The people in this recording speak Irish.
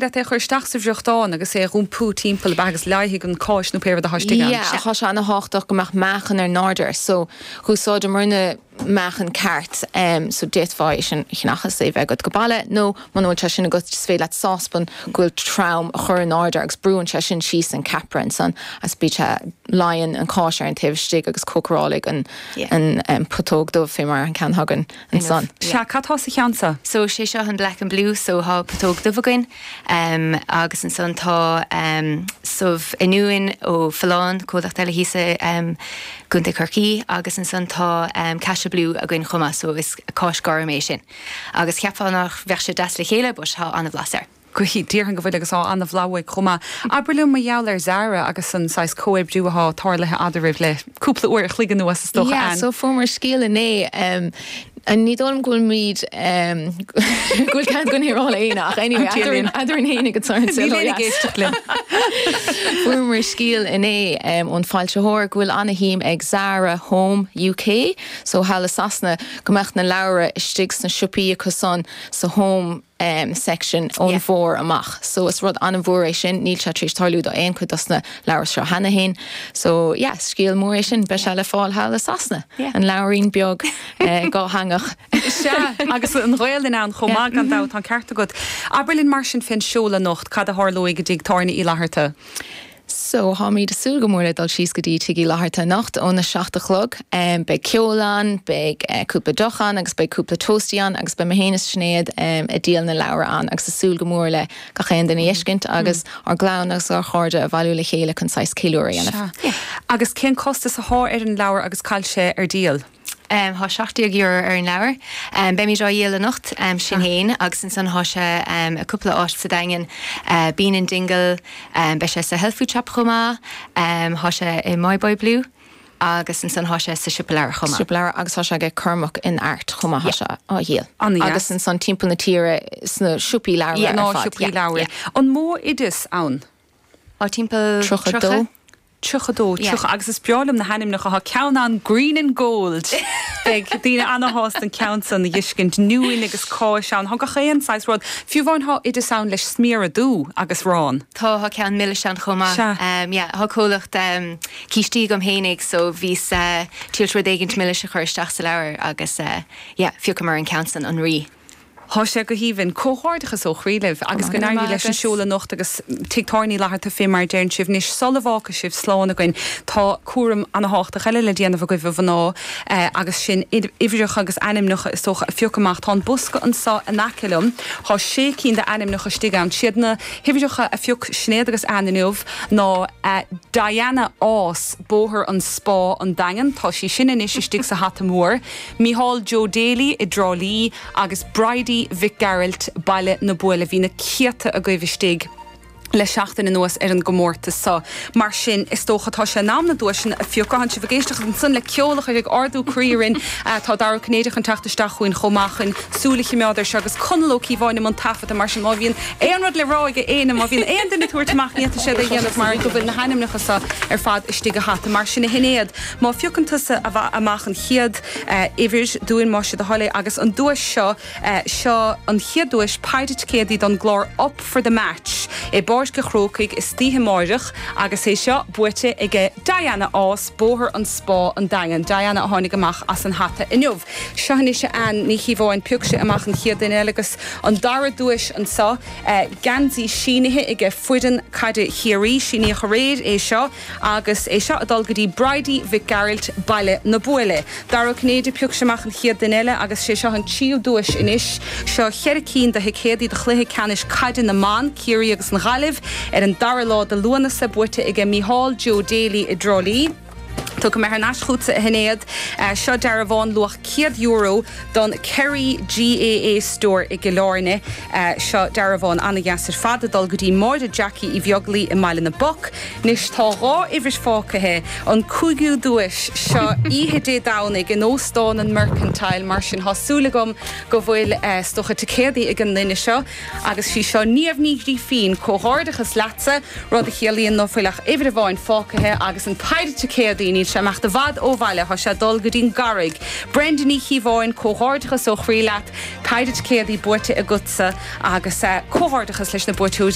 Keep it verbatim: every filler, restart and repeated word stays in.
leat é chur isteach sa bhfriochtán agus é a iompú timpeall agus leáfaidh an cháis nó pé rud atá istigh ann. Yeah, tá sé an-tábhachtach go mbeadh meáchan ar in airde, so úsáideann meáchan ceart um, so d'fhéadfá é sin a cheannach is é bheith agat go baile nó muna bhfuil sé sin agat is féidir leat sáspan go bhfuil trom a chur in airde agus brúann sé sin síos an ceapaire ansan as bí se leon an cáis ar an taobh istigh agus cócaireoidh an, Yeah. an um, putóg dubh fé mar an ceann againn ansan. Sea cad tá sa cheann seo? So sé seo an black and blue so tá putóg dubh againn um, agus ansan tá um, subh oinniúin ó Folláin comhlacht eile thíos um, gContae Chorcaí agus ansan tá um, Cashel Blue againn chomh maith so is cáis gorm é sin. Agus cheapfá nach bheadh sé deas le chéile but tá an-bhlas air. Gohí dtíorthan go bhfuil agus á an-bhlas chomh maith. Abair liom mar gheall ar Zara agus an saghas comhoibriú atá tarlaithe eadraibh le cúpla uair a chloig anuas is dócha Yeah, an. so fuaireamar scéal inné um, an ní dóm ghfuil um, ghfuil cean gon rá éine ach anyway, Tíolín. eadrainn féin go Níl aon ag éisteacht linn. Fuaireamar scéal inné um, ón foilsitheoir go bhfuil an-shuim ag Zara Home UK, so thall i Sasana go mbeadh na leabhra istigh sna siopaí acusan sa home um, section ón Yeah. bhfómhar amach. So is rud an-mhór é sin níl sé tar éis tarlú do aon chuid dos na leabhair seo cheana féin. So yeah, scéal mór é sin beidh sé le fáil thall i Sasana. Yeah. An leabhairín beag uh, dátheangach. Sea agus an Ghaeilge ann chomh maith gan dabht an ceart agat. Abair linn mar sin fén seoladh anocht cad a tharlóidh i dTigh Tábhairne Uí Fhlatharta. So táimid ag súil go mór le dul síos go dtí Tigh Uí Fhlatharta anocht óna seacht a chlog. Um, beidh ceol ann, beidh uh, cúpla deoch ann agus beidh cúpla tostaí ann agus beidh mé féin is Sinéad um, ag díol na leabhar ann agus ag súil go mór le gach aon duine a fheiscint agus ár gclann agus ár gcairde a bhailiú le chéile chun saghas ceiliúradh a dhéanamh. Sea. Agus cén costas atá ar an leabhar agus cá bhfuil sé ar díol. Um, Tá seacht déag euro ar an leabhar. Um, Beimid á dhíol anocht um, sin féin agus ansan tá sé um, i cúpla áit sa Daingean uh, Bean in Dingle, um, beidh sé sa Health Food Shop chomh maith, um, tá sé i My Boy Blue agus ansan tá sé sa siopa leabhar chomh maith. Siopa leabhar agus tá sé ag Cormac in Art chomh maith sé á dhíol. An-dheas. Agus ansan timpeall na tíre sna siopaí leabhar Yeah, ar Ná fad. siopaí Yeah, leabhar. yeah. An mó oideas ann. Á timpeall Tríocha dó. Tríocha dó Yeah. tríocha agus is breá liom na hainmneacha tá ceann ann green and gold. Beidh daoine an-shásta an ceann san a fheiscint oinniúin agus cáis ann, Tá gach aon saghas rud, Fiú amháin tá oideas ann leis sméara dubha agus arán. Tá tá ceann milis ann chomh maith. Sea. Um, yeah, Tá comhlacht um, cístí agam fhéinig so bhíos uh, tíl rud éigin milis a chur isteach sa leabhar agus uh, yeah, phiocamar an ceann san an rí. Tá sé go haoibhinn comhghairdeachas ó chroí libh agus go n-éirí leis an seoladh anocht agus Tigh Tábhairne Uí Fhlatharta fé mar deireann sibh anois sula bhfágfaidh sibh slán againn tá cúram an-tábhachtach eile le déanamh agaibh a mhná eh, agus sin uimhreacha agus ainmneacha is dócha a phiocadh amach tá an bosca anseo in aice liom Tá sé cinn d'ainmneacha istigh ann siad na huimhreacha a phioc Sinéad agus Ann inniu ná eh, Diana Ás Bóthar an Spá an Daingean tá sí sin anois istigh sa hata mór Micheál Joe Daly i dTrá Lí agus Bridie Mhic Gearailt Baile na Buaile bhí na céadta agaibh istigh le seachtain anuas ar an gcomórtas seo. Mar sin is dócha tá sé in am na duaiseanna a phiocadh sibh ag éisteacht ansan le ceol a chuir ag ardú croí orainn tá Dara Cinnéideach ag teacht isteach chugainn chomh maith chun súil a choimeád air seo agus Conall Ó Cíobháin an taifead mar sin má bhíonn aon rud le rá ag éinne má bhíonn aon duine tabhairt amach níta sé a dhéanamh mar go bhfuil na hainmneacha seo ar fad istigh sa hata mar sin a Shinéad má phiocann tusa amach an chéad uimhir dúinn más é do thoil é agus an duais seo seo an chéad duais péire ticéadaí don gclár Up for the Match i bPáirc an Chrócaigh istoíche amárach agus é seo buaite aige Diana Ás Bóthar an Spá an Daingean Diana a tháinig amach as an hata inniu. Seo anois Ann Ní Chíobháin pioc sise amach an chéad duine eile agus an dara duais anseo geansaí sínithe aige foireann caide Chiarraí síníodh aréir é seo agus é seo ag dul go dtí Bridie Mhic Gearailt Baile na Buaile. Dara Cinnéide pioc amach an chéad duine eile agus sé seo an tríú duais anois seo ceithre cinn de thicéadaí do chluiche ceannais caide na mban Ciarraí agus an Ghaillimh ar an dara lá de Lúnasa buaite aige Micheál Joe Daly i dTrá Lí. Tiocfaidh mé thar n-ais chugatsa a Shinéad seo dearbhán luach céad euro don Kerry GAA Store i gCill Airne seo dearbhán an-deas ar fad ag dul go dtí Máire Jackie Uí Bheaglaoich i mBaile na bPoc. Anois tá dhá uimhir fágtha an cúigiú duais seo oíche Dé Domhnaigh in Óstán an Mercantile mar sin tá súil agam go bhfuil is dócha ticéadaí ag an duine seo agus sí seo Niamh Ní Ghrífín comhghairdeachas leatsa rud a chiallaíonn nach bhfuil ach uimhir amháin fágtha agus an péire ticéadaí níl sé imeacht i bhfad ó bhaile tá sé dul go dtí'n gCarraig. Brenda Ní Chíobháin comhghairdeachas ó chroí leat, péire ticéadaí buaite agatsa agus uh, comhghairdeachas leis na buaiteoirí.